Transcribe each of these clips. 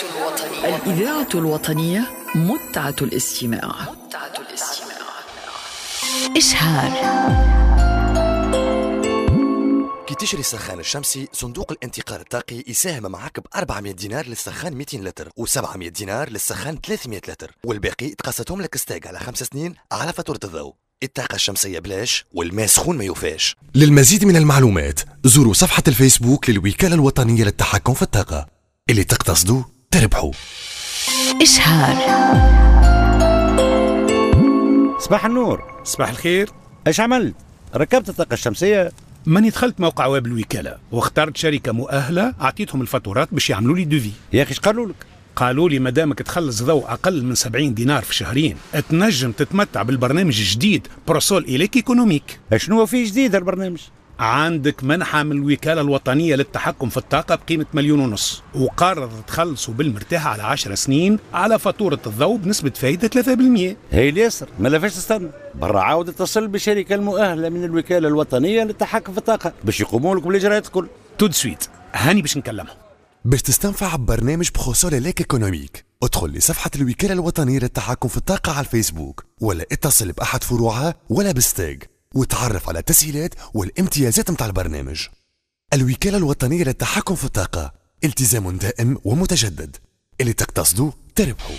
الوطنية، الإذاعة الوطنية، متعة الاستماع. متعة الاستماع. إشهار. كي تشري السخان الشمسي، صندوق الانتقال الطاقي يساهم معك ب 400 دينار للسخان 200 لتر و700 دينار للسخان 300 لتر، والباقي تقسطهم لك STEG على 5 سنين على فاتورة الضوء. الطاقة الشمسية بلاش والماء سخون ما يوفاش. للمزيد من المعلومات زوروا صفحة الفيسبوك للوكالة الوطنية للتحكم في الطاقة. اللي تقتصدوا تربحوا. إشهار. صباح النور. صباح الخير. ايش عملت؟ ركبت الطاقة الشمسية؟ ماني دخلت موقع ويب الوكالة واخترت شركة مؤهلة، أعطيتهم الفاتورات باش يعملوا لي devis. يا أخي ايش قالوا لك؟ قالوا لي مادامك تخلص ضوء أقل من 70 دينار في شهرين تنجم تتمتع بالبرنامج الجديد Prosol Elec économique. شنو فيه جديد البرنامج؟ عندك منحة من الوكالة الوطنية للتحكم في الطاقة بقيمة 1.5 مليون، وقرض تخلصوا بالمرتاح على 10 سنين على فاتورة الضوء بنسبة فايدة 3%. هي اليسر ما لفاش تستنى، برا عاود اتصل بالشركة المؤهلة من الوكالة الوطنية للتحكم في الطاقة باش يقوموا لك بالإجراءات الكل. tout de suite هاني باش نكلمهم. باش تستنفع ببرنامج Prosol Elec économique، ادخل لصفحة الوكالة الوطنية للتحكم في الطاقة على الفيسبوك، ولا اتصل بأحد فروعها ولا ب STEG، وتعرف على التسهيلات والامتيازات متاع البرنامج. الوكالة الوطنية للتحكم في الطاقة، التزام دائم ومتجدد. اللي تقتصدوا تربحوا.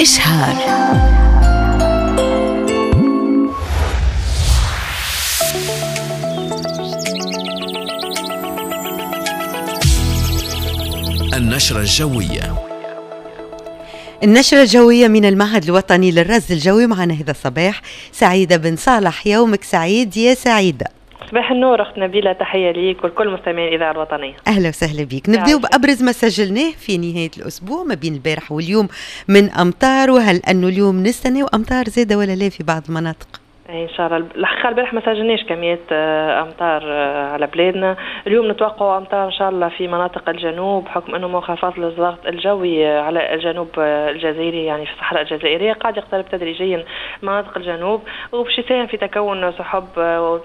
إشهار. النشرة الجوية. النشرة الجوية من المعهد الوطني للرصد الجوي، معنا هذا الصباح سعيدة بن صالح. يومك سعيد يا سعيدة. صباح النور أخت نبيلة، تحية ليك ولكل مستمعي الإذاعة الوطنية. أهلا وسهلا بك. نبدأ بأبرز ما سجلناه في نهاية الأسبوع ما بين البارح واليوم من أمطار، وهل أنه اليوم نستنى أمطار زادة ولا لا في بعض المناطق؟ ان شاء الله. الحقيقة البارح ما سجلناش كميات امطار على بلادنا. اليوم نتوقع امطار ان شاء الله في مناطق الجنوب، بحكم انه منخفض للضغط الجوي على الجنوب الجزائري، يعني في الصحراء الجزائرية قاعد يقترب تدريجيا مناطق الجنوب، وباش يساهم في تكون سحب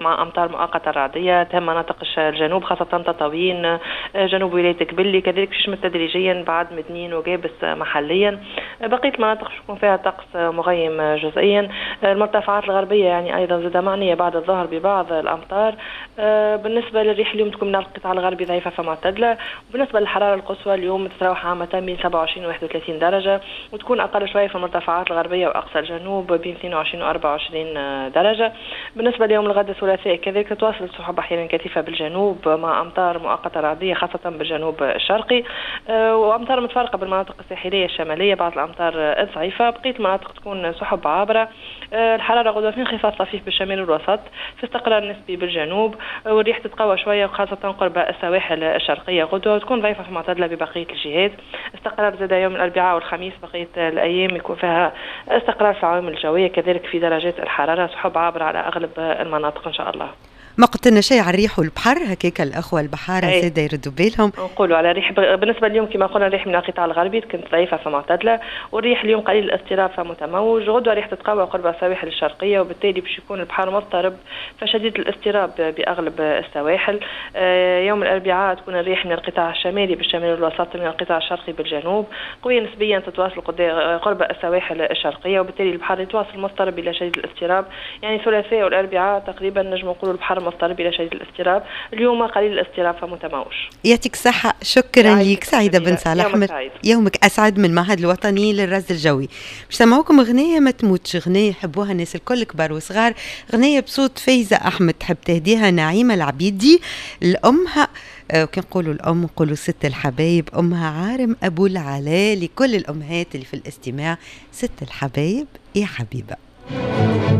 مع امطار مؤقتة رعديه تهم مناطق الجنوب، خاصة تطاوين، جنوب ولاية قبلي، كذلك باش يشمل تدريجيا بعد مدنين وقابس محليا. بقية المناطق باش يكون فيها طقس مغيم جزئيا. المرتفعات الغربية يعني ايضا زاد معنية بعد الظهر ببعض الامطار. بالنسبة للريح اليوم تكون من القطاع الغربي ضعيفة فمعتدله، وبالنسبة للحرارة القصوى اليوم تتراوح عامة بين 27 و 31 درجه، وتكون اقل شوية في المرتفعات الغربية واقصى الجنوب بين 22 و 24 درجه. بالنسبة ليوم الغد الثلاثاء كذلك تتواصل السحب احيانا كثيفة بالجنوب مع امطار مؤقتة رعديه خاصة بالجنوب الشرقي، وامطار متفرقة بالمناطق الساحلية الشمالية، بعض الامطار الضعيفة. بقية المناطق تكون سحب عابرة. الحرارة غدوه في انخفاض طفيف بالشمال والوسط، في استقرار نسبي بالجنوب، والريح تتقوى شوية وخاصة قرب السواحل الشرقية غدوه، وتكون ضعيفة في معتدلة ببقية الجهات. استقرار زاد يوم الاربعاء والخميس، بقية الايام يكون فيها استقرار في العوامل الجوية، كذلك في درجات الحرارة، سحب عابرة على اغلب المناطق ان شاء الله. ما قلت لنا شيء على الريح والبحر، هكاك الاخوة البحارة زاده يردوا بالهم. نقولوا على الريح بالنسبة اليوم كما قلنا الريح من القطاع الغربي كانت ضعيفة فمعتدله، والريح اليوم قليل الاضطراب فمتموج. غدوه ريح تتقوى قرب السواحل الشرقية، وبالتالي باش يكون البحر مضطرب فشديد الاضطراب باغلب السواحل. يوم الاربعاء تكون الريح من القطاع الشمالي بالشمال والوسط، من القطاع الشرقي بالجنوب، قوية نسبيا تتواصل قرب السواحل الشرقية، وبالتالي البحر يتواصل مضطرب الى شديد الاضطراب. يعني الثلاثاء والاربعاء تقريبا نجم نقولوا البحر مضطرب الى شديد الاضطراب. اليوم قليل الاضطراب فمتموج. يعطيك الصحة، شكرا لك سعيدة بن صالح. يومك اسعد. من المعهد الوطني للرصد الجوي باش سمعوكم اغنية ما تموتش، اغنية يحبوها الناس الكل كبار وصغار، اغنية بصوت فايزه احمد، تحب تهديها نعيمه العبيدي لامها، وكي نقولوا الام نقولوا ست الحبايب، امها عارم ابو العلاء. لكل الامهات اللي في الاستماع، ست الحبايب يا حبيبه.